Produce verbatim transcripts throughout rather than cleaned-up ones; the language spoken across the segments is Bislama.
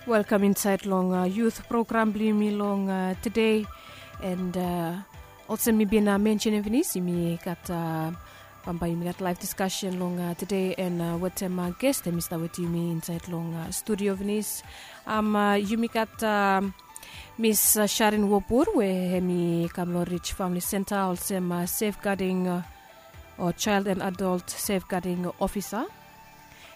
Welkam insaed long yut program blong yumi long tede. And olsem mi bin mensenim finis, yumi gat bambae yumi gat laef diskasen long tede, and wetem ges hemi stap wetem yumi insaed long studio finis. Yumi gat Miss Sharin Wobur we hemi kam long Rich Famili Senta olsem safeguarding o child and adult safeguarding ofisa.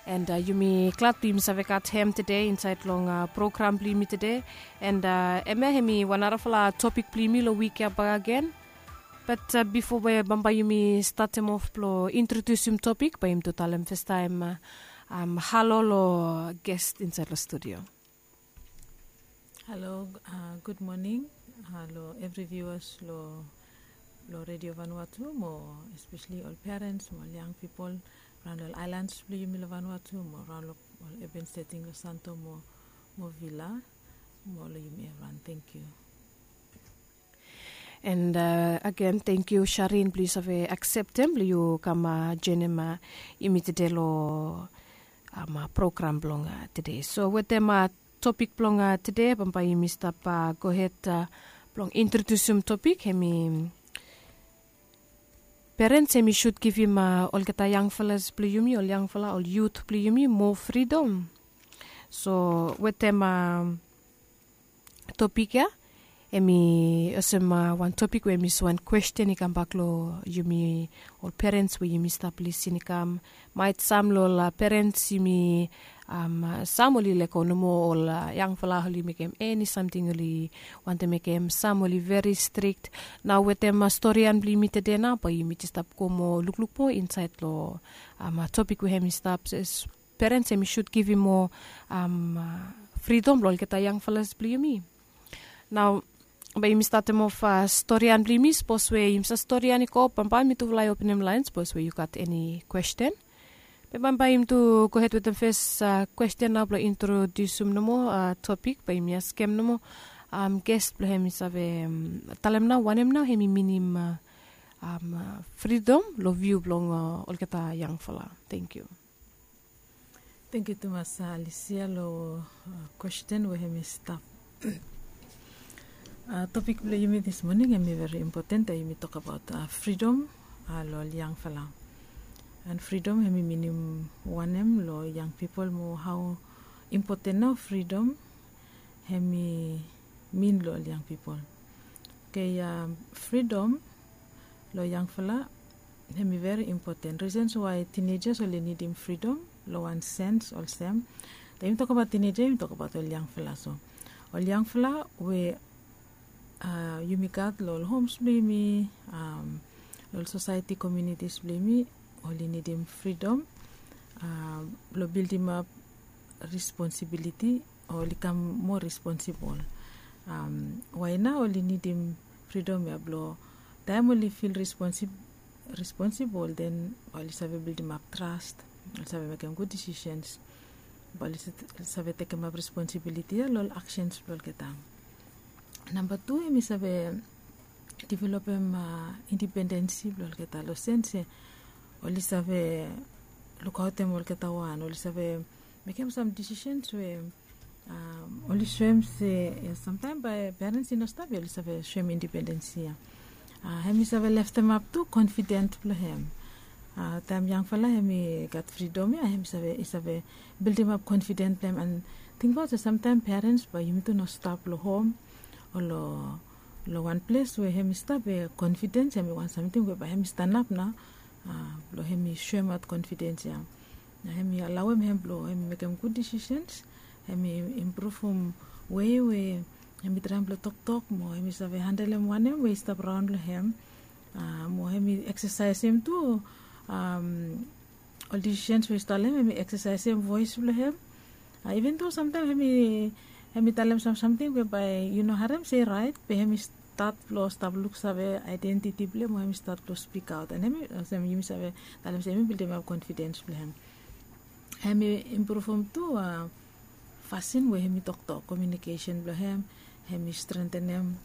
And yumi glad blong yumi save gat hem tede insaed long program blong yumi tede. And hemia hemi wan narafala topik blong yumi long wik ya bakegen. Bat bifo we bambae yumi statem of blong introdiusim topik, bae yumi tu talem fastaem halo long ges insaed long studio. Halo, gud moning long evri viuas long Redio Vanuatu mo espeseli ol perens mo ol yang pipol raon long ol aelans blong yumi long Vanuatu mo raon long ol aben seting long Santo mo Vila mo long yumi evriwan. Tangkiu. And agen tangkiu Sharin blong yu save akseptem blong yu kam joenem yumi tede long program blong tede. So wetem topik blong tede bambae yumi stap gohed blong introdiusim topik hemi perens hemi sud givim olgeta yangfalas blong yumi, ol yangfala, ol yut blong yumi moa fridom. So wetem topik ya hemi olsem wan topik we hemi wan kwesten i kambak long yumi ol perens we yumi stap lisin i kam. Maet sam long ol perens yumi, sam oli lego nomo ol yangfala oli mekem eni samting oli wantem mekem, sam oli veri strik. Nao wetem storian blong yumi tede nao bae yumi jes stap go moa lukluk moa insaed long topik we hemi stap se perens hemi sud givim moa fridom long olgeta yangfalas blong yumi. Nao bae yumi statem of storian blong yumi, sapos we yumi save storian i go bambae mi tufala i openem laen sapos we yu gat eni kwesten. Be bambae yumi tu gohed wetem fes kwesten nao blong introdiusim nomo topik, bae yumi askem nomo ges blong hem i save talem nao wanem nao hemi minim fridom long viu blong olgeta yangfala. Tangkiu. Tangkiu tumas Alisia long kwesten we hemi stap. Topik blong yumi dis moning hemi veri impoten, yumi tokbaot fridom long ol yangfala. And fridom hemi minim wanem long yang pipol mo hao impoten nao fridom hemi min long ol yang pipol. Oke, fridom long yangfala hemi veri impoten. Risens wae tinejas oli nidim fridom long wan sens olsem, taem yumi tokbaot tineja yumi tokbaot ol yangfala. So ol yangfala we yumi gat long ol homs blong yumi, long ol sosaeti komiunitis blong yumi, oli nidim fridom blong bildimap responsibiliti o oli kam moa responsibol. Wae nao oli nidim fridom ya blong taem oli fil responsibol den oli save bildimap tras, oli save mekem gud disisens, bae oli save tekemap responsibiliti ya long ol aksens blong olgeta. Namba tu hemi save developem indipendensi blong olgeta long sens se oli save lukaotem olgeta wan, oli save mekem sam disisens we oli soem se samtaem bae perens i no stap ya oli save soem indipendensi ya. Hemi save leftemap tu konfidens blong hem. Taem yangfala hemi gat fridom ya hemi save i save bildimap konfidens blong hem. And tingbaot se samtaem perens bae yumi tu no stap long hom o long wan ples we hemi stap we konfidens hemi wan samting we bae hemi stanap nao blong hemi soemaot konfidens ya. Na hemi alaoem hem blong hemi mekem gud disisens, hemi impruvum wei we hemi traem blong toktok mo hemi save handelem wanem we i stap raon long hem. Mo hemi eksesaesem tu ol disisens we i stap long hem, hemi eksesaesem voes blong hem. Iven tu samtaem hemi talem sam samting we bae yu no harem se i raet, be hemi stat blong stap luksave aedentiti blong hem o hemi stat blong spikaot. And hemi olsem yumi save talem se hemi bildimap konfidens blong hem. Hemi impruvum tu fasin we hemi toktok, komiunikesen blong hem, hemi strengtenem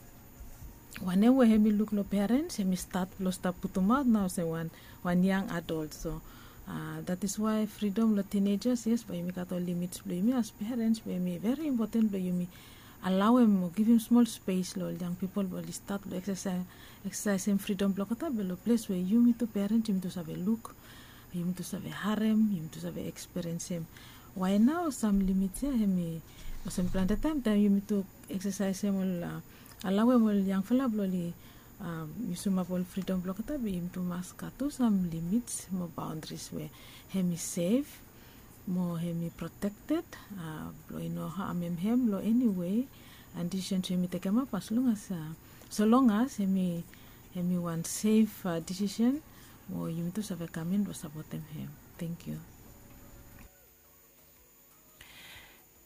wanem we hemi luk long perens hemi stat blong stap putumaot nao olsem wan yang adolt. So That is why freedom long teenagers, yes, bae yumi gat ol limits blong yumi as parents, bae yumi very important blong yumi alauem o givim smol spes long ol yang pipol blong oli stat blong eksesaesem freedom blong olgeta be long ples we yumi tu parents yumi tu save luk, yumi tu save harem, yumi tu save eksperiensim. Wae nao sam limits ya hemi olsem plante taem taem yumi tu eksesaesem ol alauem ol yangfala blong oli yusumap ol freedom blong olgeta be yumi tu mas gat tu sam limits mo baondaris we hemi sef mo hemi protekted, blong i no hamem hem long eni wei. And disisen we yumi tekemap as long as, solong as hemi wan sef disisen mo yumi tu save kamin blong sapotem hem. Tengkiu.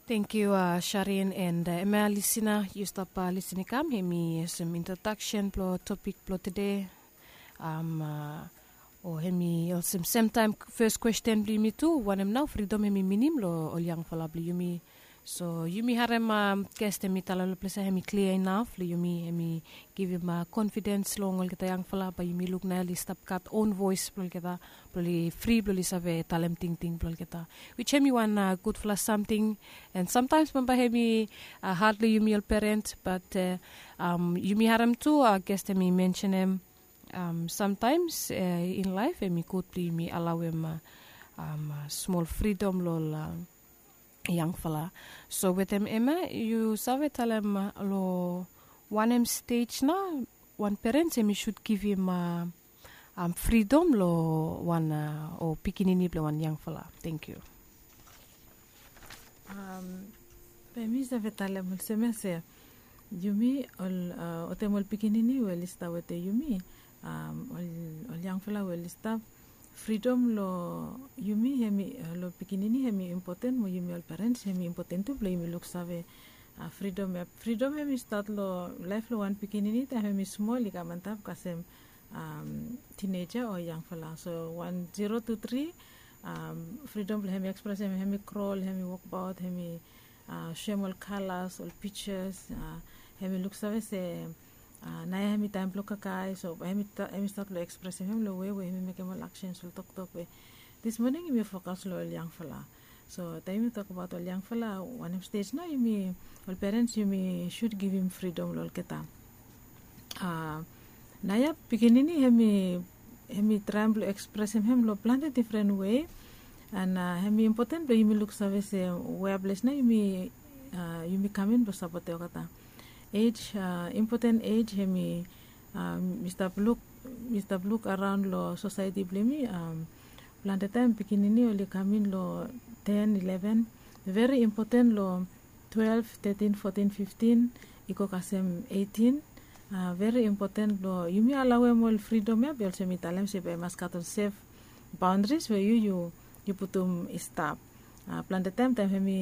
Tengkiu, sharin and hemia lisina yu stap lisin i kam hemi olsem introdaksen blong topik blong tude. O hemi olsem semtaem fes kwesten blong yumi tu, wanem nao fridom hemi minim long ol yangfala blong yumi? So yumi harem, ges hemi talem long ples ya hemi klia inaf long yumi, hemi givim konfidens long olgeta yangfala bae yumi luk nao oli stap gat on voes blong olgeta blong oli fri blong oli save talem tingting blong olgeta, wis hemi wan gudfala samting. And samtaems bambae hemi had long yumi ol perens, bat yumi harem tu ges hemi mensenem samtaems in laef hemi gud blong yumi alauem smol fridom long ol yangfala. So wetem hemia yu save talem long wanem stej nao wan perens hemi sud givim fridom long wan o pikinini blong wan yangfala? Tengkiu. Be mi save talem olsem ya se yumi ol wetem ol pikinini we oli stap wetem yumi, ol yangfala we oli stap, fridom long yumi hemi long pikinini hemi impoten mo yumi ol perens hemi impoten tu blong yumi luksave fridom ya. Fridom hemi stat long laef blong wan pikinini taem hemi smol i kam antap kasem tineja o yangfala. So wan zero tu tri, fridom blong hemi ekspresem, hemi krol, hemi wokbaot, hemi soem ol kalas, ol pijas, hemi luksave se naoia hemi taem blong kakae. So hemi stat long ekspresem hem long wei we hemi mekem ol aksens, ol toktok we dis moning yumi fokas long ol yangfala. So taem yumi tokbaot ol yangfala, wanem stej nao yumi ol perens yumi sud givim fridom long olgeta? Naoia pikinini hemi traem blong ekspresem hem long plante difren wei. And hemi impoten blong yumi luksave se wea ples nao yumi kamin blong sapotem olgeta. Ej, impoten ej hemi mi stap luk, mi stap luk araon long sosaeti blong yumi. Plante taem pikinini oli kamin long ten, eleven, veri impoten long twelve, thirteen, fourteen, fifteen, i go kasem eighteen. Veri impoten blong yumi alauem ol fridom ya be olsem mi talem se bae i mas gat ol sef baondaris we yu yu putum i stap. Plante taem taem hemi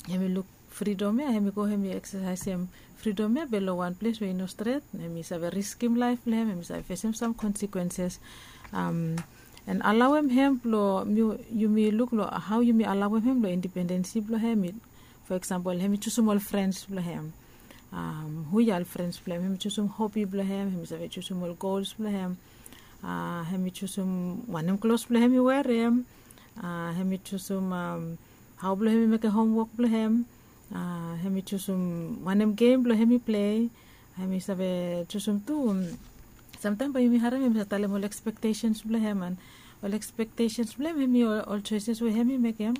hemi luk fridom ya, hemi go hemi eksesaesem fridom ya be long wan ples we i no stret, hemi save riskim laef blong hem, hemi save fesem sam konsekwenses. And alauem hem blong yumi luk long hao yumi alauem hem long independensi blong hem. Fo eksampol hemi jusum ol frens blong hem. Hu ya ol frens blong hem? Hemi jusum hobi blong hem, hemi save jusum ol gols blong hem. Hemi jusum wanem klos blong hem i werem. Hemi jusum hao blong hem i mekem homwok blong hem. Hemi jusum wanem gem blong hem i plei. Hemi save jusum tu, samtaem bae yumi harem hemi save talem ol ekspektesens blong hem. And ol ekspektesens blong hem hemi ol soeses we hem i mekem.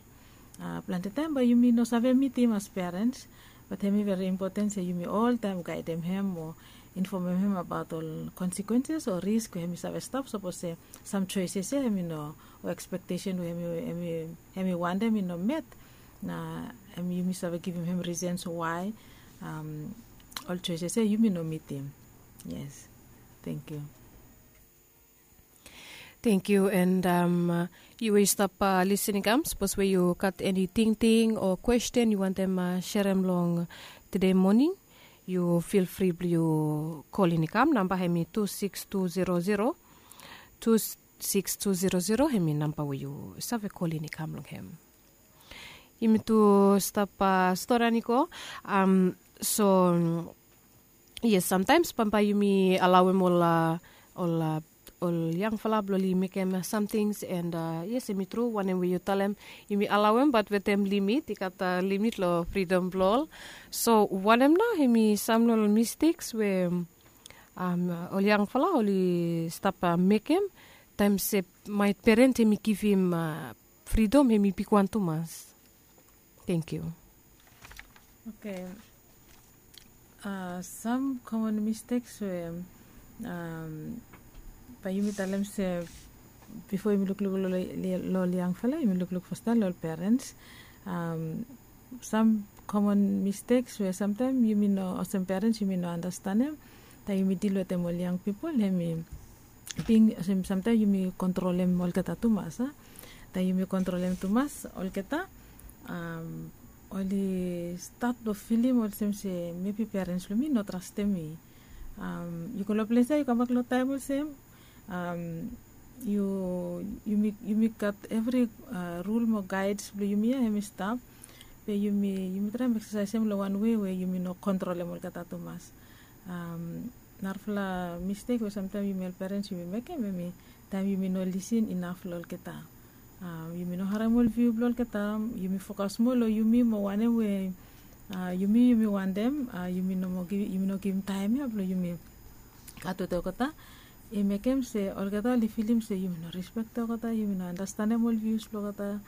Plante taem bae yumi no save mitim as perens, bat hemi veri impoten se yumi oltaem gaedem hem o infomem hem abaot ol konsekwenses o risk we hem i save stap sapos se sam soeses ya hem i no, o ekspektesen we hem i wantem i no met. Na hem yumi save givim hem risens wae ol soeses ya yumi no mitim. Yes. Tengkiu. Tengkiu. And yu we yu stap lisin i kam, sapos we yu gat eni tingting o kwesten yu wantem serem long tude moning, yu fil fri blong yu kolin i kam. Namba hem i tu siks tu zero zero, tu siks tu zero zero hem i namba we yu save kolin i kam long hem. Yumi tu stap storian i go. So yes, samtaems bambae yumi alauem ol ol ol yangfala blong oli mekem samtings. And yes, hemi tru wanem we yu talem, yumi alaoem bat wetem limit, i gat limit long fridom blong ol. So wanem nao hemi sam long ol misteks we ol yangfala oli stap mekem taem se maet peren hemi givim fridom hemi bigwan tumas? Thank you. Okay. Sam common mistakes we bae yumi talem se bifo yumi lukluk long ol yangfala, yumi lukluk fastaem long ol parents. Sam common mistakes we samtaem yumi no, olsem parents yumi no anastenem taem yumi dil wetem ol yang pipol, hemi bing olsem samtaem yumi kontrolem olgeta tumas, a? Taem yumi kontrolem tumas olgeta, oli stat blong filim olsem se mebi parents blong mi no trastem mi. Yu go long ples ya, yu kambak long taem olsem, yu, yumi gat evri rul mo gaeds blong yumi ya, hemi stap. Be yumi, yumi traem eksesaesem long wan wei we yumi no kontrolem olgeta tumas. Narafala mistek we samtaem yumi ol parents yumi mekem, hemi taem yumi no lisin inaf long olgeta. Yumi no harem ol viu blong olgeta, yumi fokas moa long yumi mo wanem we yumi, yumi wantem. Yumi no givim taem ya blong yumi gat wetem olgeta. I mekem se olgeta oli filim se yumi no rispektem olgeta, yumi no anastenem ol vius blong olgeta,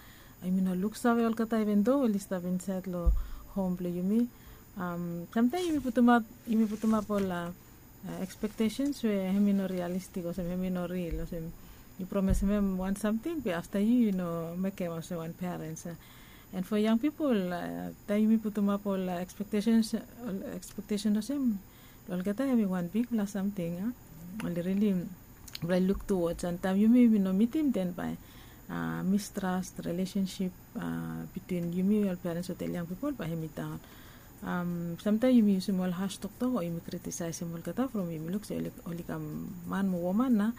yumi no luksave olgeta, even do oli stap insaed long hom blong yumi. Samtaem yumi putumap, yumi putumap ol ekspektesens we hemi no rialistik, olsem hemi no ril, olsem yu promesem hem wan samting be afta yu, yu no mekem olsem wan parents. And fo yang pipol, taem yumi putumap ol ekspektesens, ol ekspektesen olsem long olgeta, hemi wan bigfala samting. Oli rili bae luk tuwods, and taem yumi, yumi no mitim, den bae mistras, rilesensip bitwin yumi ol parents wetem ol yang pipol bae hemi daon. Samtaem yumi yusum ol has toktok o yumi kritisaesem olgeta from yumi luk se oli, oli kam man mo woman nao.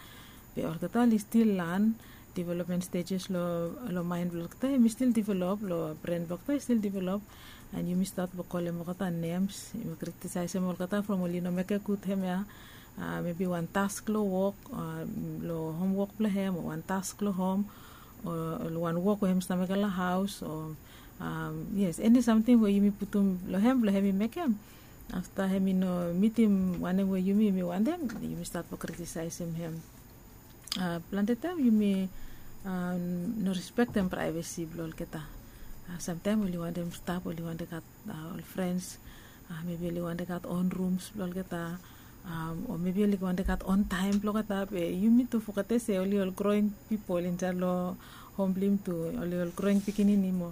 Be olgeta oli stil lan, development stejes long, long maen blong olgeta hemi stil develop, long bren blong olgeta i stil develop. And yumi stat blong kolem olgeta nems, yumi kritisaesem olgeta from oli no mekem gud hemia. Mebi wan task long wok, long homwok blong hem, o wan task long hom, o long wan wok we hem stap mekem long haos, o yes, eni samting we yumi putum long hem blong hemi mekem. Afta hemi no mitim wanem we yumi, yumi wantem, yumi stat blong kritisaesem hem. Plante taem yumi no rispektem praevesi blong olgeta. Samtaem oli wantem stap, oli wantem gat ol frens, mebi oli wantem gat on rums blong olgeta, o mebi oli wantem gat on taem blong olgeta. Be yumi tu fogetem se oli ol groing pipol insaed long hom blong yumi tu, oli ol groing pikinini mo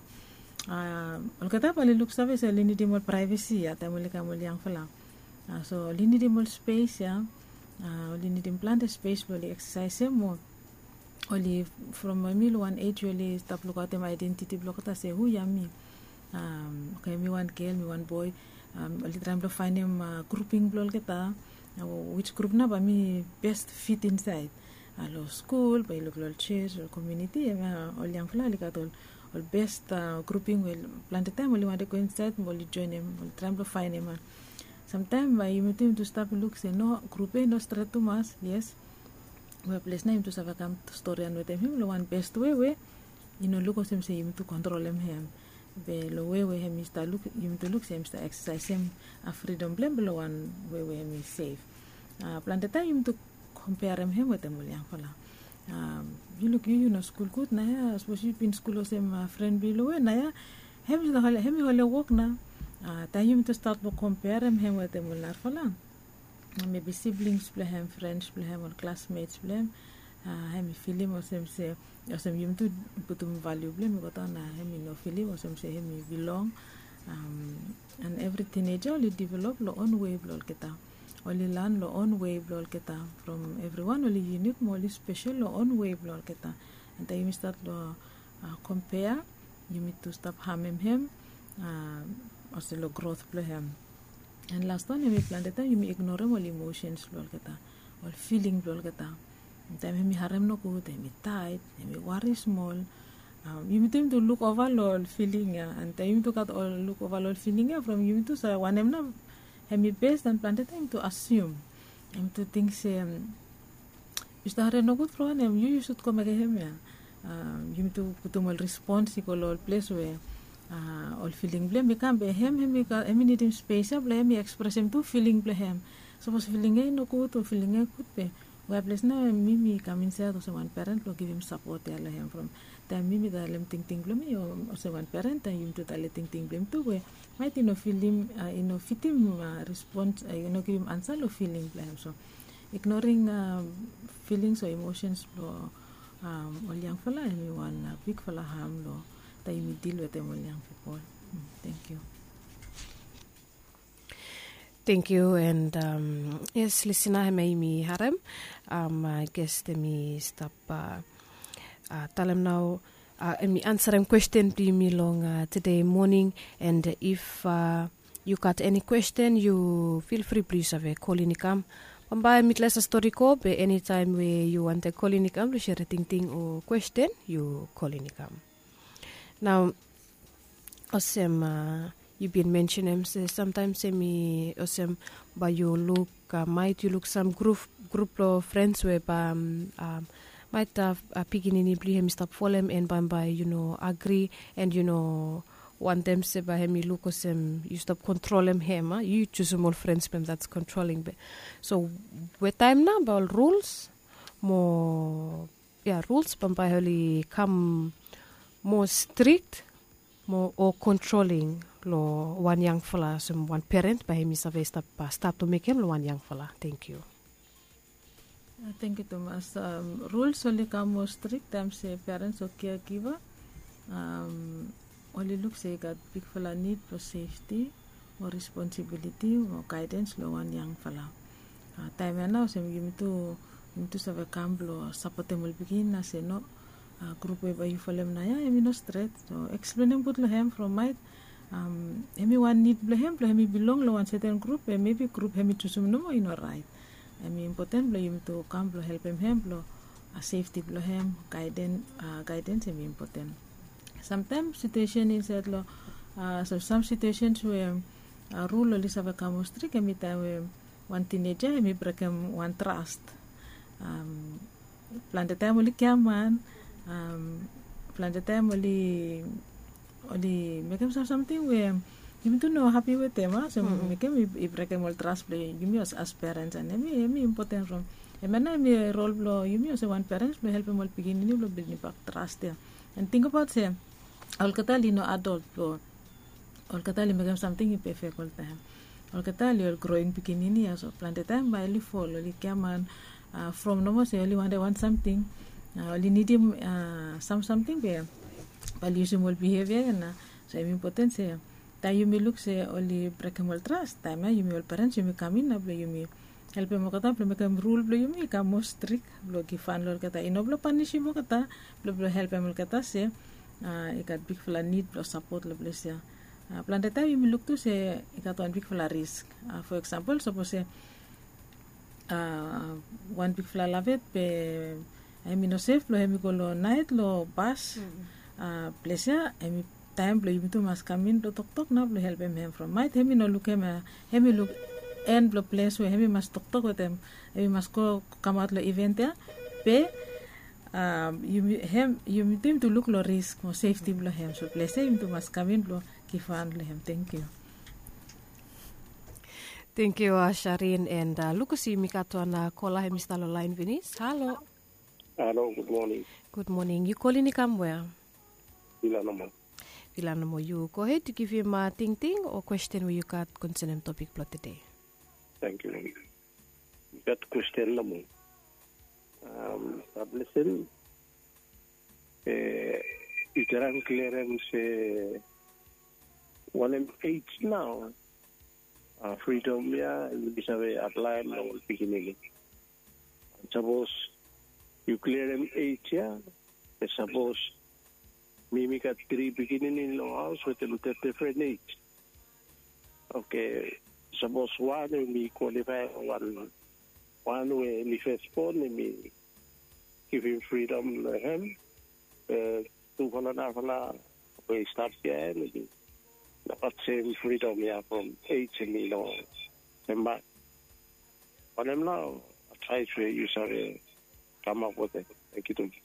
olgeta bae oli luksave se oli nidim ol praevesi ya taem oli kam ol yangfala. So oli nidim ol spes ya, oli nidim plante spes blong oli eksesaesem mo oli, from mi long wan ej we oli stap lukaotem aedentiti blong olgeta se hu ya mi. Okay, mi wan gel, mi wan boe. Oli traem blong faenem gruping blong olgeta, wis grup nao bae mi best fit insaed. Long skul bae yu luk long ol jos, ol komuniti, hemia ol yangfala oli gat ol, ol best gruping we plante taem oli wantem go insaed mo oli joenem, oli traem blong faenem. Samtaem bae yumi tu, yumi tu stap luk se no, grup ya i no stret tumas, yes. Weples nao yumi tu save kam storian wetem hem long wan best wei we i no luk olsem se yumi tu kontrolem hem. Be long wei we hem i stap luk, yumi tu luk se hem i stap eksesaesem fridom blong hem long wan wei we hem i sef. Plante taem yumi tu kompearem hem wetem ol yangfala. Yu luk, yu, yu no skul gud naoia, sapos yu bin skul olsem fren blong yu long we naoia hem i holem wok nao. Taem yumi tu stat blong kompearem hem wetem ol narafala, mebi siblings blong hem, frens blong hem, ol klasmets blong hem, hem i filim olsem se, olsem yumi tu putum valiu blong hem i go daon, na hem i no filim olsem se hem i bilong. And evri tineja oli develop long on wei blong olgeta. Oli lan long on wei blong olgeta. From evriwan oli yunik mo oli spesel long on wei blong olgeta. And taem yumi stat long kompea, yumi tu stap hamem hem olsem long grot blong hem. And las wan, hemi plante taem yumi ignorem ol imosens blong olgeta, ol filing blong olgeta. Taem hemi harem nogud, hemi taet, hemi wari smol, yumi tu, yumi tu luk ova long ol filing ya. And taem yumi tu gat ol luk ova long ol filing ya, from yumi tu save wanem nao hemi bes, and plante taem yumi tu asium, yumi tu ting se Yu stap harim nogud from wanem? Yu yu sud go mekem hem ya. Yumi tu putum ol respons i go long ol ples we ol filing blong hem i kam, be hem hem i nidim spes ya blong hem i ekspresem tu filing blong hem. Sapos filing ya i nogud o filing ya i gud, be we ples nao mi mi kam insait olsem wan peren blong givim sapot ya long hem from taem mi mi talem tingting blong mi o olsem wan peren taem yumi tu talem tingting blong hem tu we maet i no filim, i no fitim respons, i no givim ansa long filing blong hem. So ignoring filings o emosens blong ol yangfala hemi wan bigfala ham long taem yumi dil wetem ol yang pipol. Thank you. Thank you. And yes, lisina hemia yumi harem, I guess hemi stap talem nao, hemi ansarem kwesten blong yumi long tede moning. And if yu gat eni kwesten, yu fil fri blong yu save kolin i kam. Bambae mitles a stori go be enitaem we yu wantem kolin i kam blong sere tingting o kwesten, yu kolin i kam. Nao olsem yu bin mensenem se samtaem hemi olsem bae yu luk, maet yu luk sam grup blong frens we bae maet pikinini blong yu hemi stap folem and bambae yu no agri and yu no wantem se bae hemi luk olsem yu stap kontrolem hem, yu jusum ol frens blong hem, that's controlling be. So we taem nao bae ol ruls mo ya ruls bambae oli kam moa strik mo o kontroling long wan yangfala olsem wan peren bae hemi save stap stat o mekem long wan yangfala. Thank you. Thank you tumas. Ruls oli kam moa strik taem se perens o keagiva oli luk se i gat bigfala nid blong sefti mo responsibiliti mo gaedens long wan yangfala. Taem ya nao olsem yumi tu yumi tu save kam blong sapotem ol pikinini se no, grup we bae yu folem nao ya hemi no stret. So eksplenem gud long hem from maet hemi wan nid blong hem blong hemi bilong long wan seten grup we mebi grup hemi jusum nomo i no raet. Hemi impoten blong yumi tu kam blong helpem hem blong sefti blong hem, gaedens hemi impoten. Samtaem situesen insaed long sam situesens we rul oli save kam moa strik hemi taem we wan tineja hemi brekem wan tras. Plante taem oli giaman, plante taem oli oli mekem sam samting we yumi tu no hapi wetem, a so mekem i brekem ol tras blong yumi olsem as perens. And hemi hemi impoten from hemia nao hemi rol blong yumi olsem wan perens blong helpem ol pikinini blong bildingbak tras ya. And tingbaot se olgeta oli no adol blong olgeta oli mekem samting i pefek oltaem. Olgeta oli ol groing pikinini ya, so plante taem bae oli fol, oli giaman from nomo se oli wantem wan samting, oli nidim sam samting be bae oli yusim ol bihevia ya nao. So hemi impoten se taem yumi luk se oli brekem ol tras, taem ya yumi ol perens yumi kam in nao blong yumi helpem olgeta blong mekem rul blong yumi i kam moa strik blong givhan long olgeta, i no blong panisim olgeta, blong blong helpem olgeta se i gat bigfala nid blong sapot long ples ya. Plante taem yumi luk tu se i gat wan bigfala risk. Fo eksampol sapos se wan bigfala lavet be hemi no sef blong hemi go long naet long bas. Ples ya hemi taem blong yumi tu mas kam in blong toktok nao blong helpem hem from maet hemi no lukim ya, hemi luk en blong ples we hemi mas toktok wetem, hemi mas go kamaot long iven ya. Be yumi hem yumi tu yumi tu luk long risk mo sefti blong hem, so ples ya yumi tu mas kam in blong givhan long hem. Thank you. Thank you Sharin. And luk olsem yumi gat wan kola hemi stap long laen finis. Halo. Halo, gud moning. Gud moning. Yu kolin i kam wea? Vila nomo. Vila nomo. Yu gohed yu givim tingting o kwesten we yu gat konsenem topik blong tede. Thank you. Yu gat kwesten nomo. Blessing. Yu traem klerem se wanem ej nao fridom ya yumi save aplaem long ol pikinini? Sapos yu klerem ej ya, sapos mi mi gat tri pikinini long haos wetem difren ej. Oke, sapos wan we mi kwalifae wan wan we mi fesbon, mi givim fridom long hem. Be tufala narafala we i stap ya, em i no gat sem fridom ya from ej em i no sem bak. Wanem nao advaes we yu save kamap wetem. Thank you, thank you.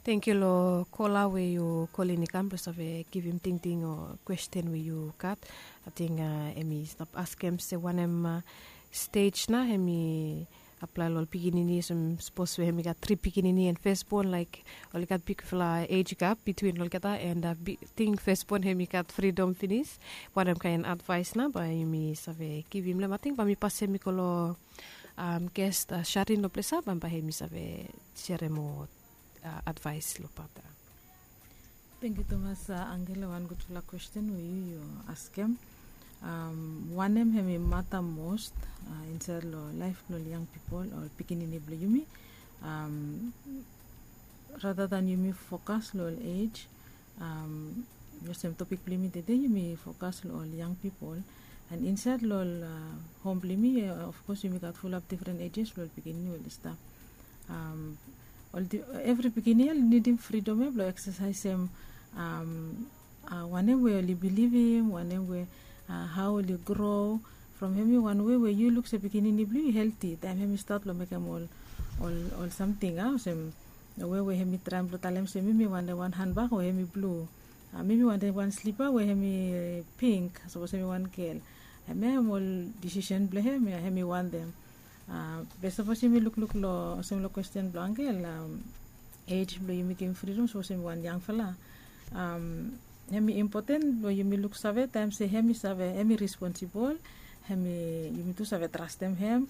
Thank you long kola we yu kolin i kam blong save givim tingting o kwesten we yu gat. Ating em i stap askem se wanem stej na em i aplae long ol pikinini olsem sapos we em i gat tri pikinini en fesbon laik ol i gat bigfala ej gap bitwin olgeta en ting fesbon em i gat fridom finis. Wanem kaen advaes na bae yumi save givim long em ating bae mi pasem i go long ges sharin long ples ya bae em i save serem moa advaes long pat ya. Tengkiu tumas angel long wan gudfala kwesten we yu yu askem. Wanem hem i mata mos insaed long laef blong ol yang pipol o ol pikinini blong yumi? Rata dan yumi fokas long ol ej olsem topik blong yumi tede yumi fokas long ol yang pipol. An insaed long ol hom blong yumi, ofkos yumi gat fulap difren ejes long ol pikinini we oli stap. Evri pikinini ya oli nidim fridom ya blong eksasaesem wanem we oli bilivim, wanem we hao oli gro. From hem i wan we we yu luk se pikinini blong yu i helti taem hem i stat long mekem ol ol samting a olsem we we hem i traem blong talem se mi mi wantem wan hanbak we hem i blu. Mi mi wantem wan slipa we hem i pink sapos hem i wan gel. Hem ya hem ol disisen blong hem ya hem i wantem. Be sapos yumi lukluk long olsem long kwesten blong angel ej blong yumi givim fridom sapos yumi wan yangfala. Hem i impoten blong yumi luksave taem se hem i save hem i responsibol. Hem i yumi tu save trastem hem.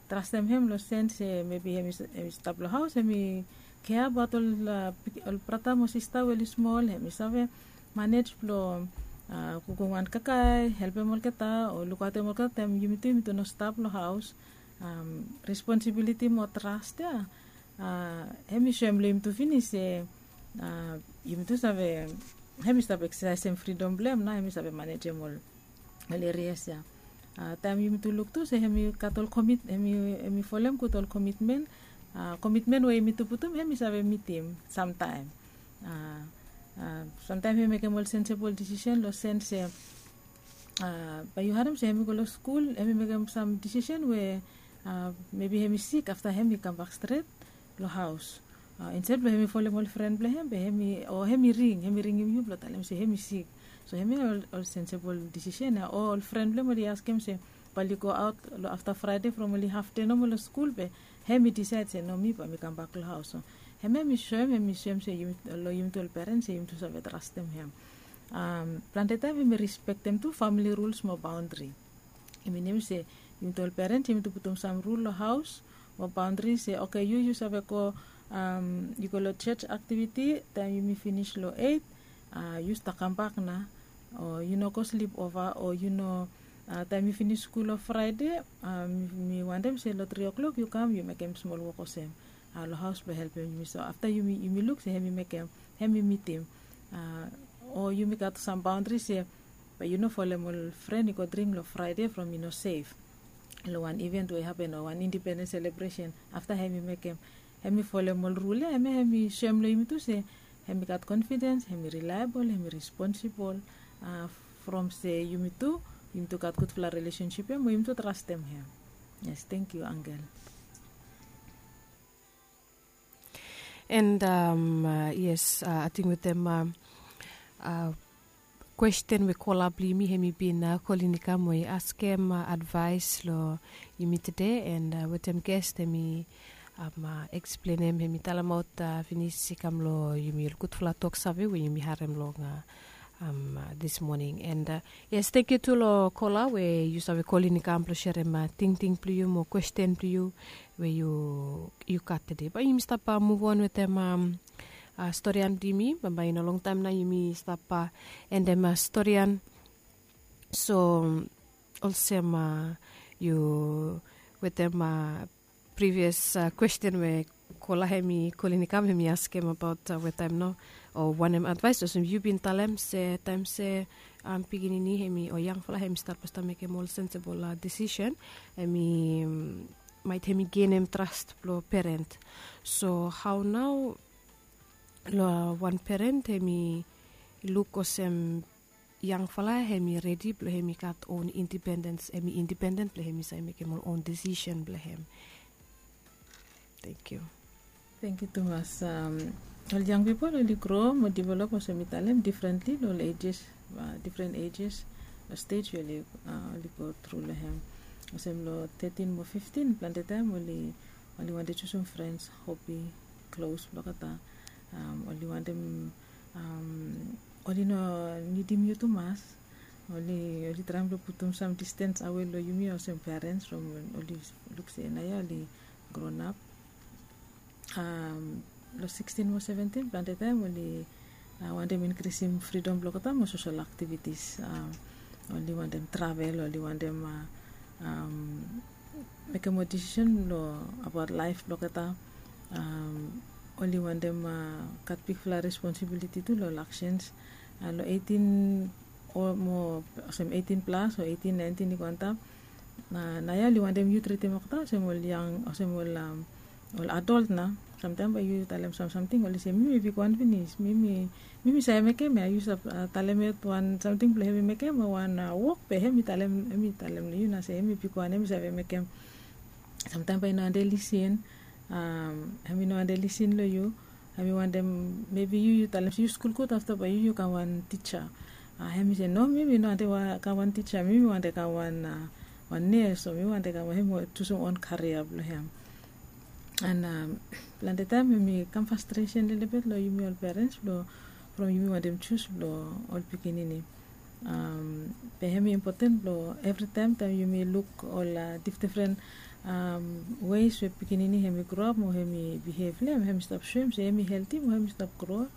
Trastem hem long sen se mebi hem i stap long haos hem i kea abaot ol brata mo sista we oli smol hem i save manej blong kukum wan kakae helpem olgeta o lukaotem olgeta taem yumi tu yumi tu no stap long haos. Responsibiliti mo tras ya hem i soem long yumi tu finis se yumi tu save hem i stap eksasaesem fridom blong hem nao hem i save manejem ol ol erias ya. Taem yumi tu luk tu se hem i gat ol komit hem i folem gud ol komitmen. Komitmen we yumi tu putum hem i save mitim samtaem. Samtaem hem i mekem ol sensebol disisen long sen se bae yu harem se hem i go long skul hem i mekem sam disisen we mebi hem i sik afta hem i kambak stret long haos. Insaed blong hem i folem ol fren blong hem be hem i o hem i ring hem i ringim yu blong talem se hem i sik. So hem ya ol sensebol disisen ya o ol fren blong hem oli askem se bae oli go aot long afta fraede from oli hafde nomo long skul be hem i disaed se no mi bae mi kambak long haos. So hem ya hem i soem hem i soem se long yumi tu ol perens se yumi tu save trastem hem. Plante taem hem i rispektem tu famili ruls mo baondri. I minim se yumi tu ol perens yumi tu putum sam rul long haos mo baondri se oke yu yu save go yu go long jos aktiviti taem yumi finis long eit. Yu stap kambak nao o yu no go slip ova o yu no taem yu finis skul long fraede. Mi wantem se long tri o'klok yu kam yu mekem smol wok olsem long haos blong helpem yumi so afta yumi luk se hem i mekem hem i mitim o yumi gat sam baondri se bae yu no folem ol fren i go dring long fraede from i no sef. Long wan iven we i hapen o wan indipendens selebresen afta hem i mekem hem i folem ol rul ya hem ya hem i soem long yumi tu se hem i gat konfidens hem i rilaebol hem i responsibol. From se yumi tu yumi tu gat gudfala rilesensip ya mo yumi tu trastem hem. Yes tengkiu angel. And yes, ating wetem kwesten we kola blong yumi hem i bin kolin i kam we i askem advaes long yumi tede and wetem ges hem i eksplenem hem i talemaot finis i kam long yumi ol gudfala tok save we yumi harem long dis moning and yes tengkiu tu long kola we yu save kolin i kam blong serem tingting blong yu mo kwesten blong yu we yu gat tede bae yumi stap muvon wetem storian blong yumi bambae i no longtaem nao yumi stap endem storian. So olsem yu wetem privios kwesten we kola hem i kolin i kam hem i askem abaot wetaem nao o wanem advaes olsem yu bin talem se taem se pikinini hem i o yangfala hem i stat blong stap mekem ol sensebol disisen hem i maet hem i genem tras blong peren. So hao nao long wan peren hem i luk olsem yangfala hem i redi blong hem i gat on indipendens hem i indipenden blong hem i save mekem ol on disisen blong hem? Thank you. Thank you tumas. Ol yang pipol oli gro mo develop olsem mi talem differently lo ol ages, different ages, lo stage we oli go tru lo hem. Olsem lo thirteen mo fifteen plante taem oli wantem jusum frens, hobi, klos blong olgeta. Oli wantem oli no nidim yu tumas. Oli traem blong putum sam distens awe lo yumi olsem perens from oli luk se naoia oli gronap. Lo sixteen mo seventeen plante taem oli wantem inkrisim fridom blong olgeta mo sosel aktivitis. Oli wantem travel, oli wantem mekem moa disisen lo abaot laef blong olgeta. Oli wantem gat bigfala responsibiliti tu lo ol aksens. Lo eighteen o mo olsem eighteen plas o eighteen nineteen i go antap. Naoia oli wantem yu tritim olgeta olsem ol yang olsem ol ol adolt nao. Samtaem bae yu talem sam samting oli se mi mi bigwan finis, mi mi save mekem ya, yu save talem yet wan samting blong hem i mekem o wan wok be hem i talem, hem i talem long yu nao se hem i bigwan, hem i save mekem. Samtaem bae i no wantem lisin. Hem i no wantem lisin long yu. Hem i wantem mebi yu yu talem se yu skul gud afta bae yu yu kam wan tija. Hem i se no, mi mi no wantem kam wan tija, mi mi wantem kam wan wan nes o mi wantem kam wan, hem i jusum on karia blong hem. An plante taem hem i kam fastresen lelebet long yumi ol perens blong from yumi wantem jus blong ol pikinini. Be hem i impoten blong evritaem taem yumi luk ol difdifren weis we pikinini hem i groap mo hem i bihev long hem, hem i stap soem se hem i helti mo hem i stap gro.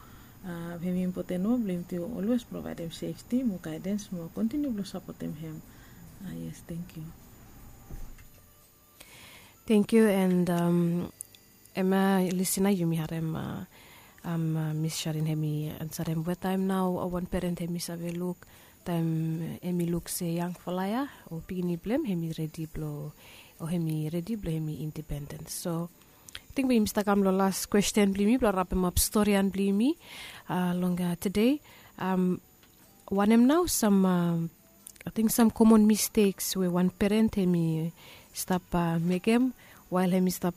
Hem i impoten moa blong yumi tu olwes provaedem sefti mo gaedens mo kontiniu blong sapotem hem. Yes, thank you. Thank you. And em ya lisina yumi harem, mis sharin hem i ansarem we taem nao wan peren hem i save luk taem hem i luk se yangfala ya o pikinini blong hem hem i redi blong o hem i redi blong hem i indipendens. So ating we yumi stap kam long las kwesten blong yumi blong rapemap storian blong yumi long tude. Wanem nao sam ating sam komon misteks we wan peren hem i stap mekem wael hem i stap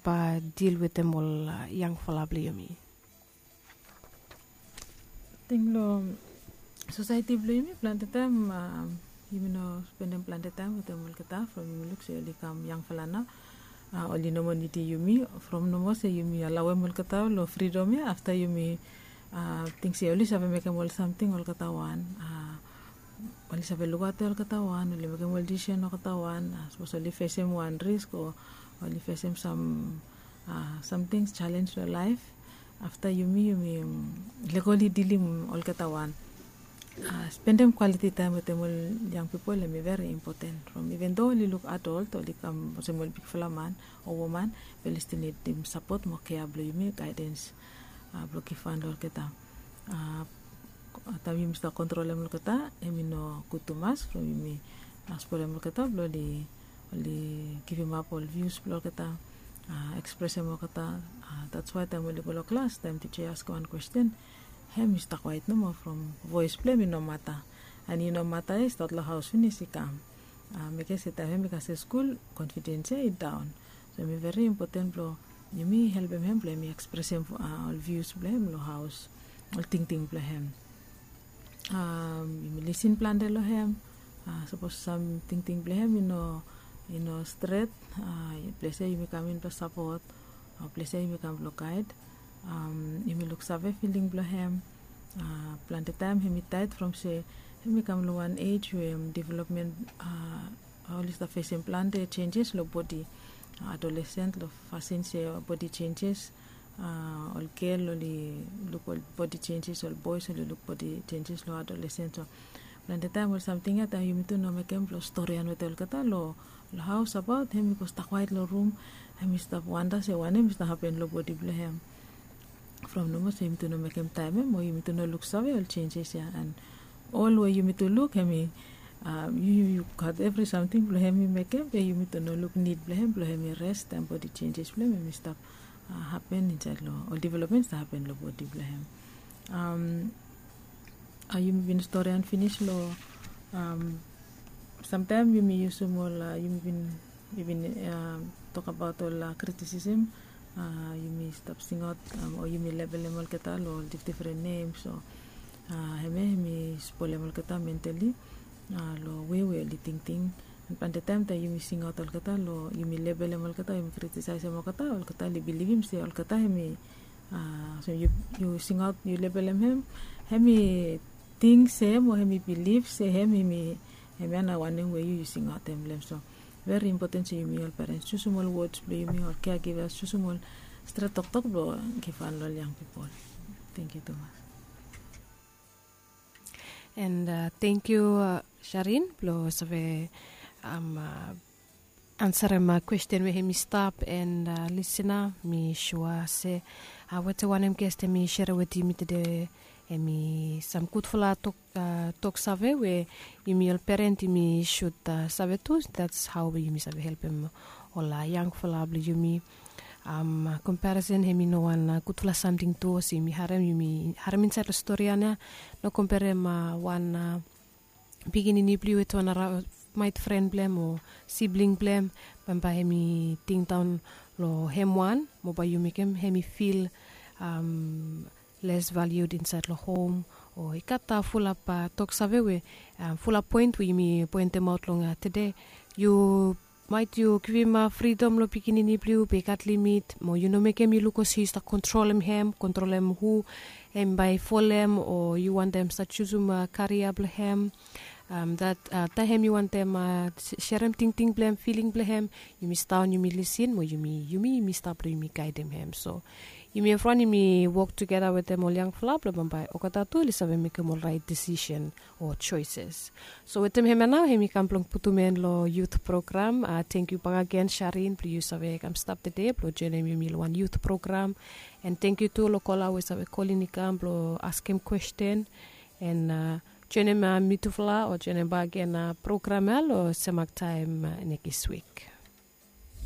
dil wetem ol yangfala blong yumi? Ating long sosaeti blong yumi plante taem yumi no spendem plante taem wetem olgeta from yumi luk se oli kam yangfala nao. Oli no moa nidim yumi from nomo se yumi alaoem olgeta long fridom ya afta yumi ting se oli save mekem ol samting olgeta wan. Oli save lukaotem olgeta wan, oli mekem ol disisen olgeta wan. Sapos oli fesem wan risk o oli fesem sam samting jalens long laef, afta yumi yumi lego oli dilim olgeta wan. Spendem kwaliti taem wetem ol yang pipol hem i veri impoten from iven do oli luk adolt, oli kam olsem ol bigfala man o woman, be oli stil nidim sapot mo kea blong yumi, gaedens blong givhan long olgeta. Taem yumi stap kontrolem olgeta hem i no gud tumas from yumi spolem olgeta blong oli givimap ol vius blong olgeta, ekspresem olgeta. Dats wae taem oli go long klas taem tija i askem wan kwesten, hem i stap kwaet nomo from voes blong hem i no mata. An i no mata ya i stat long haos finis i kam. Mekem se taem hem i kasem skul, konfidens ya i daon. So hem i veri impoten blong yumi helpem hem blong hem i ekspresem ol vius blong hem long haos, ol tingting blong hem. Yumi lisin plante long hem. Sapos sam tingting blong hem i no i no stret, ples ya yumi kam in blong sapot. Ples ya yumi kam blong gaed. Yumi luksave filing blong hem. Plante taem hem i taet from se hem i kam long wan ej we developmen oli stap fesem plante jenjes long bodi. Adolesen long fasin se bodi jenjes. Ol gel oli luk ol bodi jenjes, ol boes oli luk bodi jenjes long adolesen. So plante taem ol samting ya taem yumi tu no mekem blong storian wetem olgeta long haos abaot hem i go stap kwaet long rum. Hem i stap wanda se wanem i stap hapen long bodi blong hem. From nomo se yumi tu no mekem taem ya mo yumi tu no luksave ol jenjes ya. An ol we yumi tu luk hem i yu yu gat evri samting blong hem i mekem, be yumi tu no luk nid blong hem blong hem i res taem bodi jenjes blong hem hem i stap hapen insaed long ol developmen i stap hapen long bodi blong hem. Yumi bin storian finis long samtaem yumi yusum ol yumi bin yumi bin tokabaot ol kritisisem Yumi stap singaot o yumi lebelem olgeta long ol difdifren nem. So hemia hemi spolem olgeta mentali long we we oli tingting. Plante taem taem yumi singaot olgeta long yumi lebelem olgeta, yumi kritisiasem olgeta, olgeta oli bilivim se olgeta hemi, so yu singaot, yu lebelem hem, hemi ting se hem o hemi bilif se hem hemi, hemia na wanem we yu yu singaotem long hem. So veri impoten se yumi ol perens jusum ol wods blong yumi, ol keagivas jusum ol stret toktok blong givhan long ol yang pipol. Tengkiu tumas. And tengkiu Sharin blong save ansarem kwesten we hemi stap. And lisina, mi sua se wetem wanem gest hemi serem wetem yumi tede, hemi sam gudfala tok, toksave we yumi ol peren yumi sud save tu. That's how we yumi save helpem ol yangfala blong yumi. Komparison hemi no wan gudfala samting tu. Olsem yumi harem, yumi harem insaed long stori ya, no komperem wan pikinini blong yu wetem wan maet fren blong hem o sibling blong hem. Bambae hemi tingdaon long hem wan, mo bae yu mekem hemi fil les valued insaed long hom. O i gat fulap toksave we, fulap poen we yumi poentemaot long tede. Yu maet yu givim fridom long pikinini blong yu, be i gat limit, mo yu no mekem i luk olsem yu stap kontrolem hem, kontrolem hu hem bae folem, o yu wantem stap jusum karia blong hem. Taem yu wantem serem tingting blong hem, filing blong hem, yumi sidaon, yumi lisin, mo yumi, yumi, yumi stap blong yumi gaedem hem. So yumi evriwan yumi wok tugeta wetem ol yangfala blong bambae olgeta tu oli save mekem ol raet disisen o joeses. So wetem hemia nao hemi kam blong putum en long yut program. Tengkiu bakegen Sharin blong yu save kam stap tede blong joenem yumi long wan yut program. And tengkiu tu long kola we save kolin i kam blong askem kwesten. And joenem mitufala o joenem bakegen program ya long semak taem nekis wik.